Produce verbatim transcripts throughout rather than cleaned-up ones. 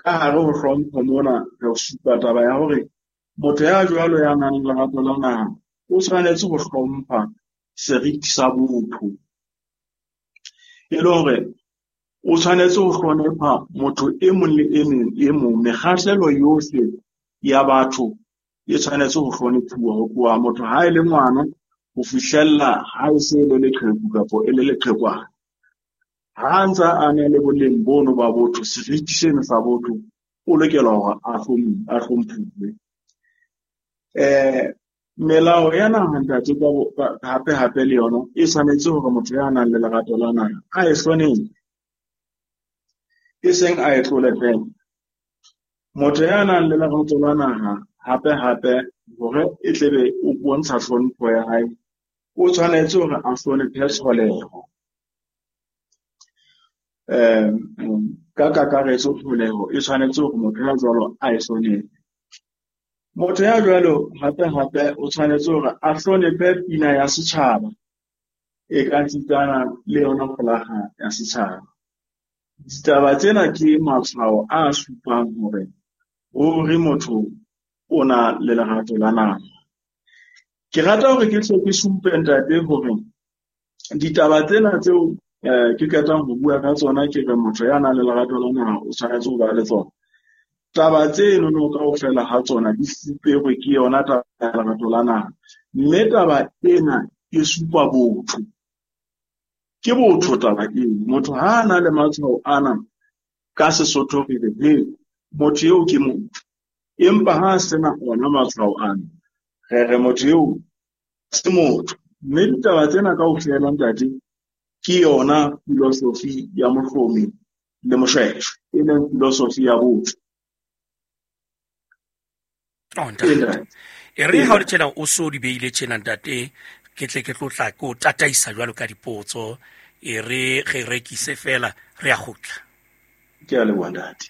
Ka hare ho hlompho mona re supa taba ya hore motho ya jwalo ya nang le lerato la naha o tshwanetse ho hlompha seriti sa botho. E le hore o tshwanetse ho hlonepha motho e mong le e mong e mong, mekgahlelo yohle ya batho e tshwanetse ho hlonephuwa ho tloha motho ha e le ngwana ho fihlella ha e se e le leqheku kapa e le leqhekwana. Ha ntsa a na le boleng bono ba botho, seriti seno sa botho, o lokela hore a a hlomphuwe. Eh, melao ya naha ntate ka hape hape le yona e tshwanetse hore motho ya nang le lerato la naha a e hlonephe, e seng a e tlole fela. Motho ya nang le lerato la naha hape hape hore e tlebe o bontsha hlompho ya hae, o tshwanetse hore a hlonephe tlholeho. Eh, ka kakaretso tlholeho e tshwanetse hore motho ya jwalo a e hlonephe. Motho ya jwalo hape hape o tshwanetse hore a hlonephe pina ya setjhaba e ka sitana le yona folaga ya setjhaba. Ditaba tsena ke matshwao a supang hore ruri motho o na le lerato la naha. Ke rata hore ke hle ke supe ntate hore ditaba tsena tseo eh, ke qetang ho bua ka tsona, ke re motho ya nang le lerato la naha o tshwanetse ho ba le tsona. Taba tseno no kaofela ha tsona di fuperwe ke yona taba ya lerato la naha, mme taba ena e supa botho. Ke botho taba eno. Motho ha a na le matshwao ana ka Sesotho re re he, motho eo ke motho. Empa ha a sena ona matshwao ana, re re motho eo se motho. Mme ditaba tsena kaofela ntate ke yona filosofi ya Mohlomi le Moshweshwe, e leng filosofi ya botho. Oh, ntate. E re ha o le tjena o so di beile tjena ntate, ke tle ke tlo tla ke o tataisa jwalo ka dipotso. E re re rekise fela re a kgutla. Ke a leboha ntate.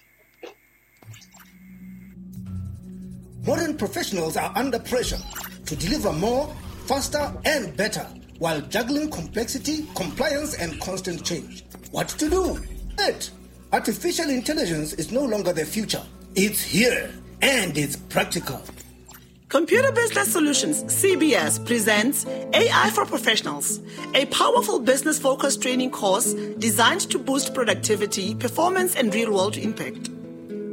Modern professionals are under pressure to deliver more, faster, and better while juggling complexity, compliance, and constant change. What to do? It. Artificial intelligence is no longer the future. It's here, and it's practical. Computer Business Solutions, C B S, presents A I for Professionals, a powerful business-focused training course designed to boost productivity, performance, and real-world impact.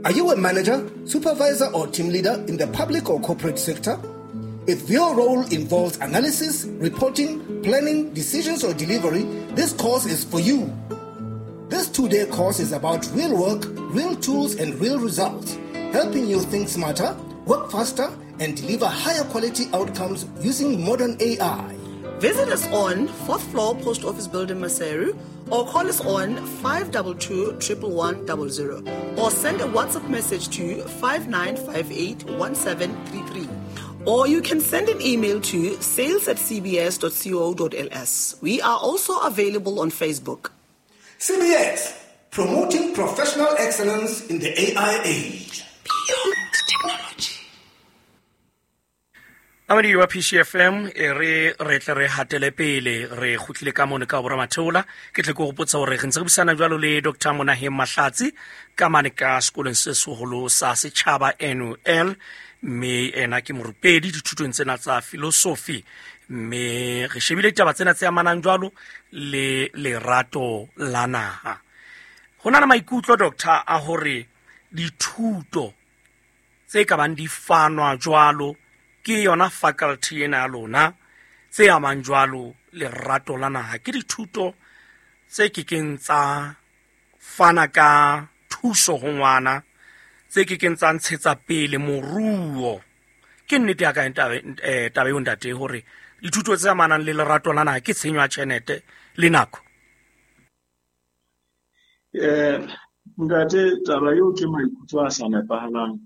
Are you a manager, supervisor, or team leader in the public or corporate sector? If your role involves analysis, reporting, planning, decisions, or delivery, this course is for you. This two-day course is about real work, real tools, and real results, helping you think smarter, work faster, and deliver higher quality outcomes using modern A I. Visit us on fourth floor Post Office Building, Maseru, or call us on five two two, one one one zero, or send a WhatsApp message to five nine five eight, one seven three three. Or you can send an email to sales at c b s dot co dot l s. We are also available on Facebook. C B S, promoting professional excellence in the A I age. Beyond technology. Amadi wa P C F M e re re tle re hatele pele re kgutlile ka mone ka bora Matheola. Ke tle ke go potsa hore re ntse re busana jwalo le Doctor Monaheng Mahlatsi ka mane ka sekolong se seholo sa setjhaba N U L, mme ena ke morupedi dithutong tsena tsa philosophy, mme re shebile ditaba tsena tse amanang jwalo le lerato la naha. Ho na le maikutlo doctor a hore dithuto tse ka bang di fanwa jwalo ke yona faculty ena ya lona tse amang jwalo lerato la naha ke dithuto tse kekeng tsa fana ka thuso ho ngwana, tse kekeng tsa ntshetsa pele moruo. Ke nnete ya ka taba eo ntate hore dithuto tse amanang le lerato la naha ke tshenyo ya tjhelete le nako? Eh, ntate, taba eo ke maikutlo a sa nepahalang,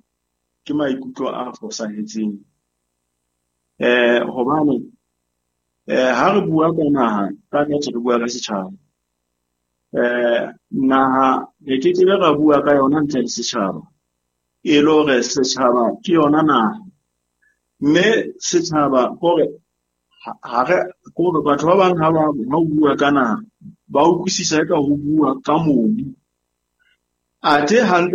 ke maikutlo a fosahetseng. Eh, hobane eh ha re bua ka naha, ka nnete re bua ka setjhaba. Eh, naha re ke ke ra bua ka yona ntle le setjhaba. E le hore setjhaba ke yona naha. Mme setjhaba hore ha re hore batho ba bang ha ba ha o bua ka naha, ba utlwisisa ka ho bua ka mobu. Athe hantle